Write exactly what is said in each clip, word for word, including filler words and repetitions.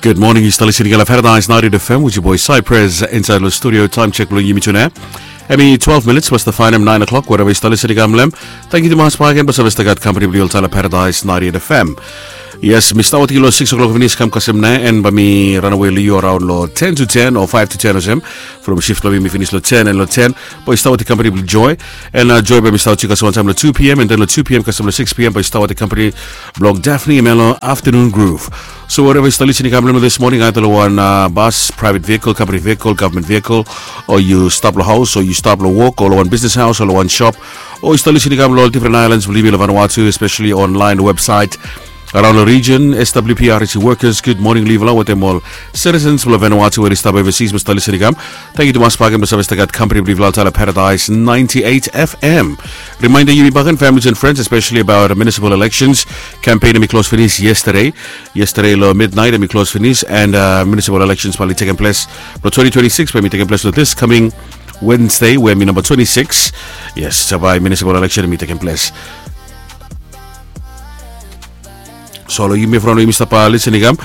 Good morning, yu stap listening long Paradise ninety-eight F M with your boy Cypress inside the studio. Time check bilong yumi tune. Hemi twelve minutes was the final nine o'clock, wherever yu stap listening long. Thank you tumas bagen basa basa gat company bilong yu long Paradise ninety-eight F M. Yes, mi stap wetem yu long six o'clock finis kam kasem na, and bai mi ranawe long yu around long ten to ten o five to ten olsem. From shift bilong mi finis long ten and long ten, bai yu stap wetem company bilong Joy. And uh, Joy bai mi stap wetem yu kasem wantaim long two p.m. and then long two p.m. kasem long six p.m. bai yu stap wetem company bilong Daphne Melo Afternoon Groove. So wherever yu stap listening kam long this morning, either long wan uh, bus, private vehicle, company vehicle, government vehicle, o yu stap long haus, o yu stap long wok, o long wan business house, o long wan shop, o yu stap listening kam long different islands bilong yumi long Vanuatu, especially online website. Around the region, S W P R T C workers, good morning long yufala, wetem ol citizens bilong Vanuatu we i stap overseas, basa listening kam. Thank you tumas bagen basa basa gat company bilong yufala long Paradise ninety-eight F M. Reminder yumi bagen, families and friends, especially about municipal elections. Campaign hemi close finis yesterday. Yesterday long midnight hemi close finis, and uh, municipal elections bai i tekem ples. But twenty twenty-six bai i tekem ples long this coming Wednesday, we hemi number twenty-six. Yes, so bai municipal election hemi tekem ples. So long yumi from long yumi stap listening kam.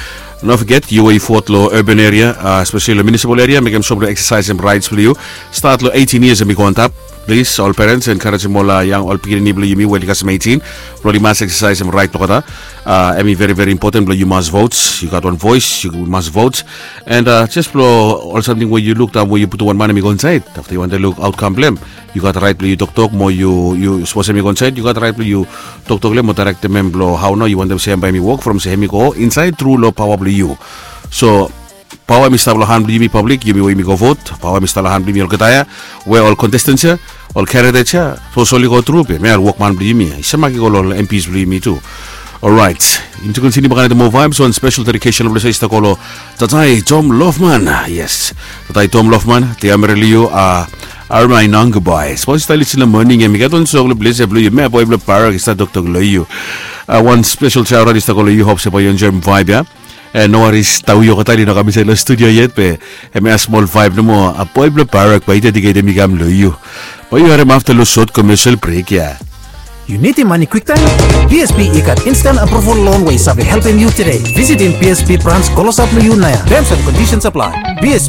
No forget, yu we yu vote long urban area, uh, especially long municipal area, mekem sure blong exercisem rights bilong yu. Start long eighteen years hemi go antap. Please, ol parents, encouragem ol uh, yang ol pikinini bilong yumi we i kasem eighteen, blong yu mas exercisem right olgeta. Uh, hemi very very important blong yu mas vote. Yu gat wan voice, yu mas vote. And uh, just blong ol samting we yu luk daun we yu putum wan man hemi go insait, afta yu wantem luk outcome blong em, yu gat right blong yu toktok mo yu yu sapos hemi go insait, yu gat right blong yu toktok long em mo directem em blong hau nao yu wantem se em bai hemi wok from se hemi go insait tru long pawa blong yu. So pawa hemi stap long han blong yumi public, yumi we yumi go vote. Pawa hemi stap long han blong yumi olgeta ya, we ol contestants ya, ol candidate ya, sapos oli go tru be mi ol wokman blong yumi ya i same mak i go long ol M Ps blong yumi tu. Orait, yumi tu kontiniu bakanem moa vibes. Wan special dedication blong se i stap go long Tatai Tom Lofman. Yes, Tatai Tom Lofman, te amere long yu a armai nang gobai. Sapos i stap lisin long moning em i gat wan song long ples ya blong yu, mea boi blong Barak i stap toktok long yu. A wan special shout out i stap go long yu, hop se bai yu enjoim vibe ya. E no waris, Taui Okatail i no kam insait long studio yet be em ya smol vibe nomo. A boi blong Barak bai i dediketem i kam long yu. Bai yu harim afta long sot commercial break ya. Yu nidim mani kwiktaim? B S B i gat instant approval loan we i save helpim yu today. Visitim B S B branch klosap long yu nau ya. Terms and conditions apply. B S